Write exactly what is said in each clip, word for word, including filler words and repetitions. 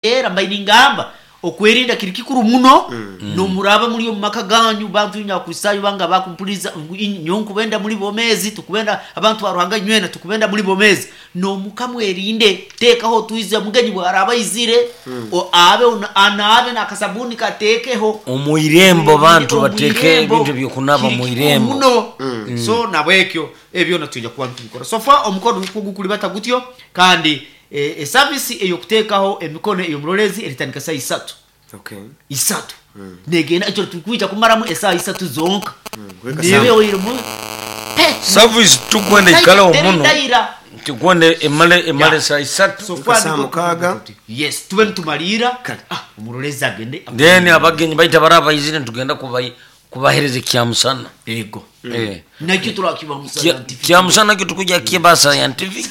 Era mbaire ningamba okwerinda kiri kikuru muno. Nomuraba muri omu maka ganyu, bantu nyakusayo banga bakumpuliza ngu inyo nkubenda muri bomezi, tukubenda abantu ba Ruhanga, nywena tukubenda muri bomezi. Nomuka mwerinde, tekaho twize mugenyi bwaraba izire o abe una- anaabe nakasabuni katekeho Omuirembo bantu bateke Omwirembo, ebintu byokunaba kiri muirembo. Muno. So nabwekyo ebyo natwija kuba nitubikora. So far omukono nukwo gukulibata gutyo. Kandi eh, esavisi eyokutekaho emikono ey'omurolezi eritandika saa isatu. Okay. Isatu negenda ekyo tukwija kumaramu esaha isatu zonka. Kuweka Nibe sawa. oirimu Service tukwenda ikalaho muno. Daira. Tukwenda emale emale Yeah. saa isatu. So Kuweka far saa niko- mukaaga. Yes, tube nitumalira. Ah, omurolezi agende. Then abagenyi baita baraba izire tugenda kubai kubahereza kyamusana. Ego. Eh. Nakyo turakiba Kya- scientific. Kyamusana kyo tukuja kiba scientific.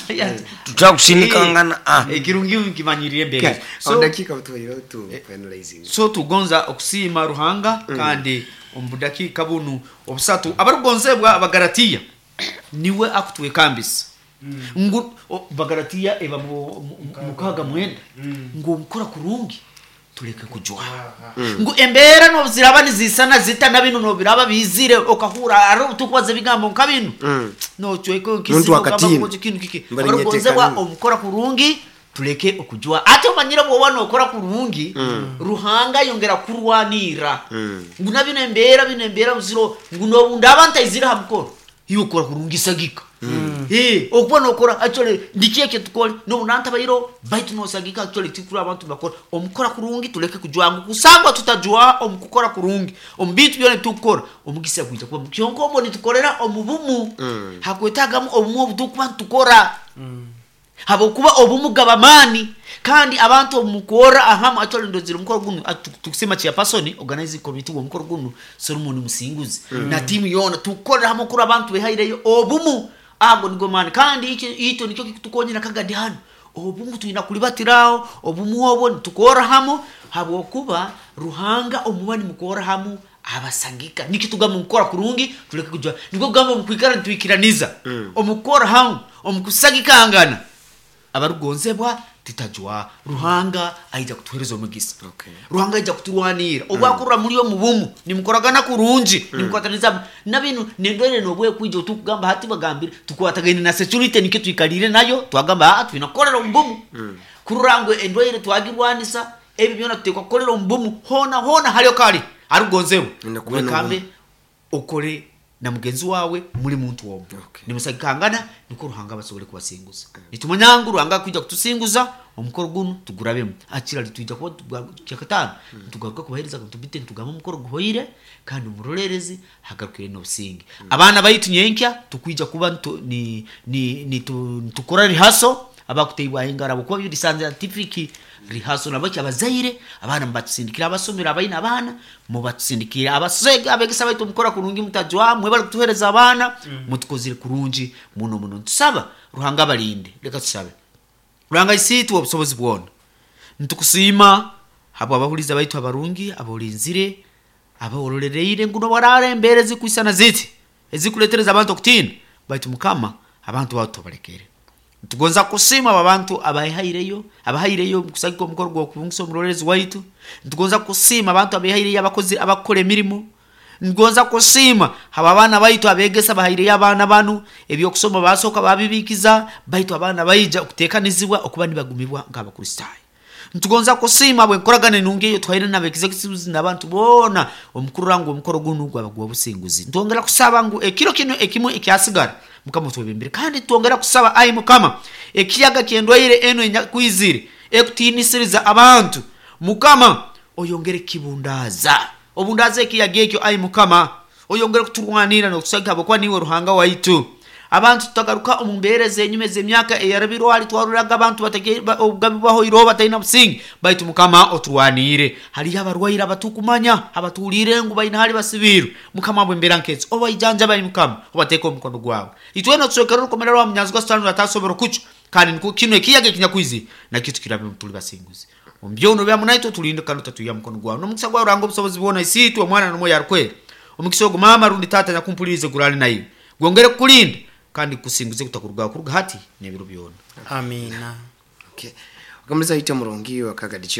Tutakusindikangana ah. Ekirungi nkimanyirire mbere. So, So dakika tuwaire tu finalizing. So tugonza okusiima Ruhanga. Kandi omu budakiika bunu obusatu, abarugonzebwa Abagaratiya niwe akutwekambisa ngu o- Bagaratiya eba mu- mu- mukaga mwenda, ngu omukora kurungi tuleke kujwaha, ngu embeera nobuziraba nizisana zita na binu nobiraba bizire okahura ari tukubaza ebigambo nka binu nocweka. Muntu akatina. Kintu kiki. Mbari Abarugonzebwa, nyetekana. omukora kurungi tuleke okujwa. Ate omanyire bwoba nokora kurungi, Ruhanga yongera kurwanira ngu na bino embeera bino embeera buziro ngu nobundaba ntaizire ha mukoro, iwe okora kurungi sagika. Eh, okuba nokora actually ndiki ekyo tukole nobunantabairo baitu nosagika. Actually tikuri abantu bakora omukora kurungi tuleke kujwa, ngu kusangwa tutajwa omukukora kurungi omu bintu byona tukukora, omugisa gwija kuba kyonka omwo nitukorera omu bumu. Hakwetagamu obumu obutukuba nitukora, habwokuba obumu gaba maani. Kandi abantu omukora ahamu actually ndozire omukoro gunu atu- tukusema chairperson organizing committee w'omukoro gunu Solomon Musinguzi na timu yona tukorera hamwe kuri abantu behaireyo obumu, ago nigo maani. Kandi ikyo ito nikyo kikutukonyera kagadi hano, obumu twina kulibatiraho obumu obwo nitukora hamu, habwokuba Ruhanga omuba nimukora hamu abasangika. Nikyo tugamba omukora kurungi tuleke kujwa, nibwo kugamba omukwikara nitwikiraniza omukora hamu omukusagikangana. Abarugonzebwa, titajwa, Ruhanga aija kutuhereza omugisa. Okay. Ruhanga aija kuturwanira obwakurra muri omu bumu nimukoragana kurungi, nimukwataniza na binu nendwere nobwekwija otukugamba hati bagambire tukwatagaine na security, nikyo twikalire nayo twagamba ah twina kukorera omu bumu kurora ngu endwaire twagirwanisa. Ebi byona tutekwa kukorera omu bumu hona hona haliyo kali arugonzebwa. Nina kuba Wekambe okore na mugenzi wawe muri muntu omwe. Okay. Nimusagikangana niko Ruhanga basobole kubasinguza. Nitumanya ngu Ruhanga kwija kutusinguza omukoro guno tugurabemu akira litwija kuba tuga- kyakataano tugaruka kubahereza tubite nitugamba omukoro guhoire kandi omurorerezi hagarukire n'obusinge. Abaana baitu nyenkya tukwija kuba ntu- ni, ni, ni, tu, nitukora rihaso abakuteibwa engara kuba biri scientific rihaso nabaki abazaire abaana mubatusindikira abasomero abaina abaana mubatusindikira abasega abegesa baitu mukora kurungi mutajwa mwebale kutuhereza abaana mutukozire kurungi muno muno. Ntusaba Ruhanga abalinde. Leka tusabe. Ruhanga isiitwe obusobozi bwona, nitukusiima habwa abahuliza baitu abarungi abolinzire abaworolereire nguno barara embeera ezikwisana ziti ezikuletereza abantu okutiina, baitu Mukama abantu bawe tobalekere. Ntugonza kusiima abo abantu abahaireyo abahaireyo kusagika omukoro gw'okubungisa omurorezi waitu. Ntugonza kusiima abantu abehaireyo abakozi abakukora emirimu. Ngonza kusiima haba abaana baitu abegesa bahaireyo abaana banu ebyokusoma basooka babibikiza, baitu abaana baija okuteekanizibwa okuba nibagumibwa nk'abakristaayo. Ntugonza kusiima bwenkoragana enungi eyo twaire n'abexecutives n'abantu boona omukurura ngu omukoro gunu gwaba gwa businguzi. Ntwongera kusaba ngu ekiro kino ekimu ekyasigara, Mukama twebembere. Kandi twongera kusaba, ayi Mukama, ekiyaga kyendwaire eno enyakwizire ekutiinisiriza abantu, Mukama oyongere kibundaaza, obundaaza ekiyaga ekyo. Ayi Mukama, oyongere kuturwanira n'okusagika habwokuba niwe Ruhanga waitu. Abantu tutagaruka omu mbeera ez'enyuma ez'emyaka eyarabirwe hali twaruraga abantu batake- ba- obugabi bwahoireho batalina businge, baitu Mukama oturwaniire. Haliyo abarwaire abatukumanya abatuhuliire ngu baina hali basibiirwe. Mukama bwembeera nkezi obaijanjaba, Mukama obateeka omukono gwawe. Itwena otuswekere orukomera rwa munyanzi gwa Sitaani atasobora okucwa. Kandi niko kino ekiyaga ekinyakwizire nakyo tukirabe tuli basinguzi omu byono byamu naitwe tulinde kandi otatuiya mukono gwawe n'omukisa gwawe. Ruhanga obusobozi bwona, Isiitwe, Omwana n'Omwoyo Arukwera, omukisa ogu maama rundi taata nyakumpulirize gurale naiwe, gwongere kukulinda kandi kusinguze kutakurugaho kuruga hati n'ebiro byona. Amina. Okay. Akamaliza ite murungi wakagadichiba.